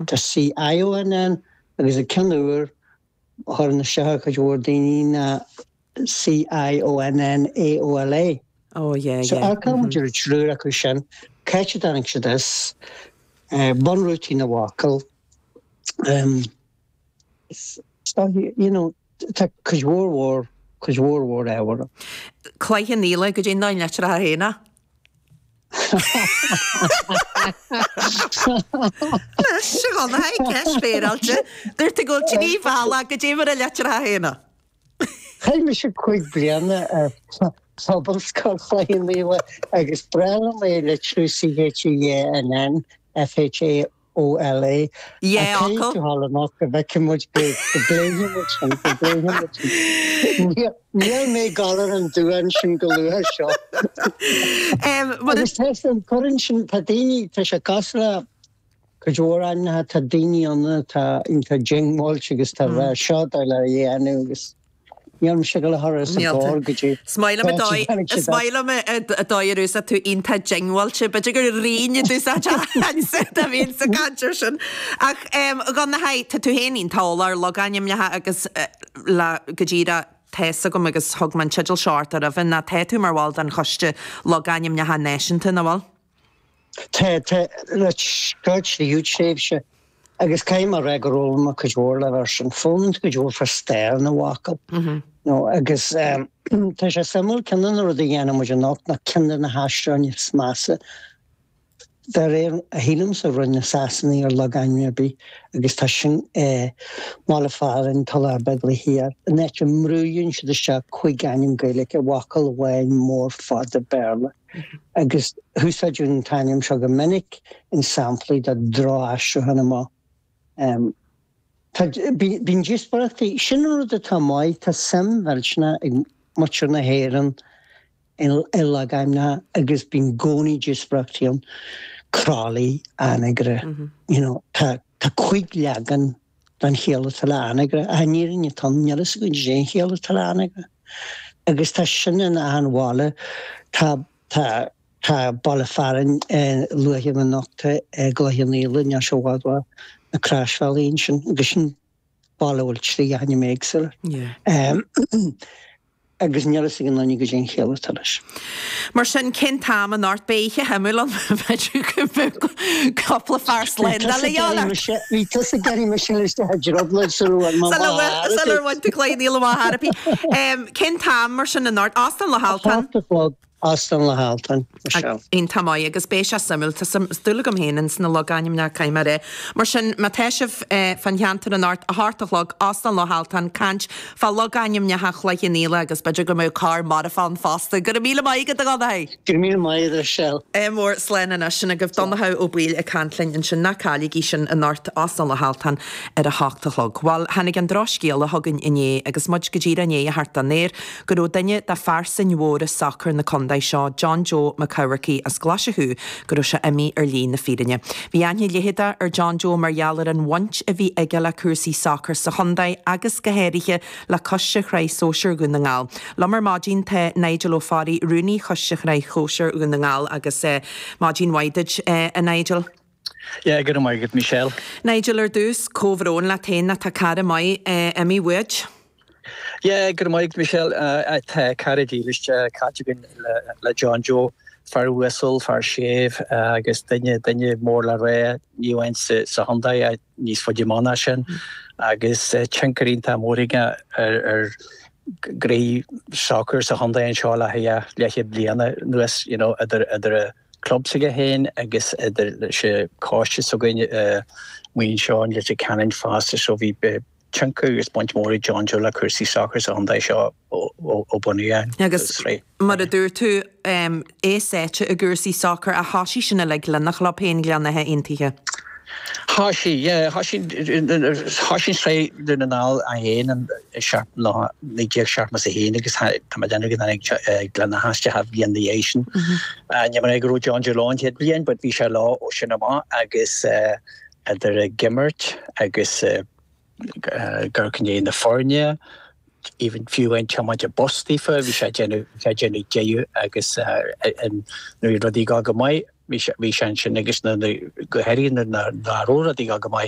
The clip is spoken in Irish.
Tá C-I-O-N-N agus an ceann úr a chuireann isteach ar chuid mhór daoine ná C-I-O-N-N-A-O-L-A. Oh yeah, So yeah. earcóidh muid ar an triúr acu sin, cá háit a dtáinig siad as, bunrútaí na bhfocal, so you know, tá cuid mhór mhór, cuid mhór mhór ábhar ann. Cloich Cheann Fhaola, goidé an dóigh a litreochthá féin é. Anois, a Dhonncha, ceist féaráilte. Dúirt tú go bhfuil tú díobhálach, goidé mar a litreochthá féin é. Chaith mise 5 bliana ar Phobalscoil Chloich Cheann Fhaola agus breá liom é a litriú C-H-E-A-N-N F-H-A OLA. Yeah, Ach caithfidh tú dhul amach go bhfeicfidh muid go bpléifidh muid sin, go bpléifidh muid sin. Níl mé ag dul ar an duán sin go luath seo. Agus tá sin, cuireann sin, tá daoine, tá sé cosúil le cuid mhór ainmneacha, tá daoine ann atá iontach diongbháilte agus tá rá seo dóigh le dhéanamh agus. Níl mise ag dul a chur os a gcomhair go dtí. Is maith liom an dóigh, is maith liom an dóigh ar úsáid tú iontach diongbháilte. B'fhéidir gur raon a d'úsáid ansa a bhíonn sa chaint ar sin. Ach a Dhonncha, tá tú féin iontach eolach ar logainmneacha agus le go díreach tá fhios agam agus thug mé an teideal seo ort roimhe ná tá tú mar bhall den Choiste Logainmneacha Náisiúnta, nach bhfuil? Tá, tá, le seo tríú tréimhse agus caithfidh mé a rá gur fhoghlaim mé cuid mhór le bheith sin. Foghlaim cuid mhór fá stair na bhfocal. No, agus tá sé suimiúil, ceann de na rudaí a dhéanann muid anocht ná ceann de na haistriúcháin is measa de réir a shílimse a rinne na Sasanaigh ar logainm ar bith agus tá sin i mbaile fearainn Tulach Beaglaoich Thiar, an áit a mbrúann siad isteach cuig ainm Gaeilge i bhfocal amháin mór fada Béarla. Agus húsáideadh an t-ainm seo go minic in samplaí de droch-aistriúchán amach. Tá, bíonn díospóireachtaí, sin an rud atá maith, tá suim mhillteanach ag muintir na hÉireann i logainmneacha agus bíonn i gcónaí díospóireachtaí ann, Crolly, Anagaire, you know, tá, tá cuig leagan den chiall atá le Anagaire, ach an fhírinne atá ann, níl fhios againn cén chiall atá le Anagaire. Agus tá sin in achan bhaile. Tá, tá, tá baile fearainn luaite agam anocht i gCloich Cheann Fhaola, níl sé i bhfad uaidh na Croisbhealaí ansin, agus sin baile a bhfuil 3 ainm éagsúla. Yeah. Agus níl fhios ag aon duine goidé an chiall atá leis. Mar sin, cén t-am anocht? Beidh oíche shuimiúil ann, b'fhéidir go mbeadh cúpla fear slándála de dhíobháil ort. Bhí tusa ag iarraidh mise isteach i dtrioblóid sula bhfuil mé amach thar Sular bhain tú Cloich Cheann Fhaola amach thar bith. Cén t-am mar sin anocht? Óstán Loch Altan? 8 a chlog. Óstán Loch Altan, Michelle. Iontach maith agus beidh sé suimiúil. Tá dúil agam féin ins na logainmneacha, caithfidh mé a rá. Mar sin, má tá sibh fán cheantar anocht, 8 a chlog, Óstán Loch Altan, caint fá logainmneacha Chloich Cheann Fhaola agus b'fhéidir go mbeadh corr marfach ann fosta. Go raibh míle maith agat, a Dhonncha! Go raibh míle maith agat, a Mhichelle. Ádh mór, slán anois. Sin agaibh Donncha Ó Baoill ag caint linn ansin. Ná cailligí sin anocht, Óstán Loch Altan ar a hocht a chlog. Bhuel, tháinig an drochscéala chugainn inné agus muid go díreach i ndiaidh a theacht don aer, go raibh duine de phearsain mhóra sacair na contae seo, John Joe Mac Eamharcaigh as Glaise Chú, go raibh sé imithe ar shlí na fírinne. Bhí aithne leitheadach ar John Joe mar gheall ar an bhaint a bhí aige le cúrsaí sacair sa chontae agus go háirithe le Coiste Shraith Sóisir Dhún na nGall. Liom ar maidin tá Nigel Ó Fearraigh, Rúnaí Choiste Shraith Shóisir Dhún na nGall agus maidin mhaith duit, a Nigel. Yeah, go raibh maith agat, Michelle. Nigel, ar dtús, comhbhrón leat féin, tá cara maith imithe uait. Yeah, go raibh maith agat, Michelle. Tá cara dílis caillte againn le John Joe, fear uasal, fear séimh agus duine, duine mór le rá, ní amháin sa chontae ach níos faide amach ná sin agus tionchar iontach mór aige ar ar ghnoithe sacair sa chontae anseo le leathchéad bliana anuas, you know, idir idir a club s'aige féin agus idir leis an choiste s'againne amuigh anseo in Leitir Ceanainn fosta so bhí tionchar agus baint mhór ag John Joe le cúrsaí sacair sa chontae seo ó bunaíodh an Agus sraith. mar a dúirt tú, é sáite i gcúrsaí sacair ach thosaigh sin uilig lena chlub féin, Gleann Átha Aontaithe. Thosaigh, yeah, thosaigh, thosaigh an sraith Dún na nGall é féin in 1971 agus tá mé ag déanamh go dtáinig Gleann Átha isteach an bhliain ina dhiaidh sin. Níl mé ag rá go raibh John Joe leo an chéad bhliain but bhí sé leo ó sin amach agus idir ag imirt agus ag amharc i ndiaidh na foirne, even fiú amháin tiomáint an bus daofa, bhí sé ag déanamh, bhí sé ag déanamh deireadh agus nuair a bhí rudaí ag dul go maith. Bhí sé ansin agus go háirithe nuair nach raibh rudaí go maith.